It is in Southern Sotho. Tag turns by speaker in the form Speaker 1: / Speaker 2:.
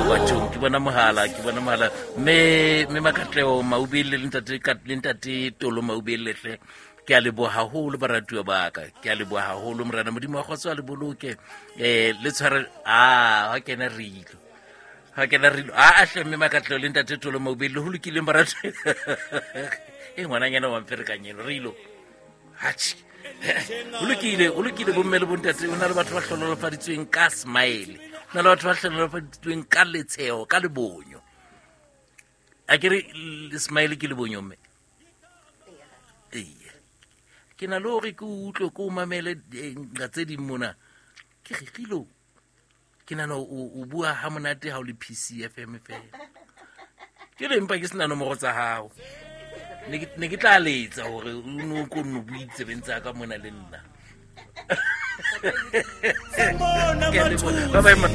Speaker 1: Bathong, ke bona mohala, ke bona mohala. Mme Makatleo Maubele le ntate le ntate Tolo Maubele hle. Ke a leboha haholo baratuwa ba ka. Ke a leboha haholo morena Modimo wa kgotso a le boloke. Le tshware a ha kena rilo. Ha kena rilo. A hle mme Makatleo le ntate Tolo Maubele ho lokileng baratuwa. E ngwananyana wa mferekanyelo rilo. Hatjhe. O lokile, o lokile bomme le bontate, o na le batho ba hlonolofaditsweng ka smile. O na le batho ba hlonolofaditsweng ka letsheho, ka lebonyo. A ke re smile ke lebonyo mme. Ee. Ke na le hore ke utlwe ke o mamele nqa tse ding mona. Ke re rilo. Ke nahana o bua ha monate ha o le PCFM fela. Ke le empa ke sena nomoro tsa hao. Ne ke tla letsa hore o no ko nno bue ditsebeng tsa ka mona le nna. Ke a leboha. Bye bye, ma.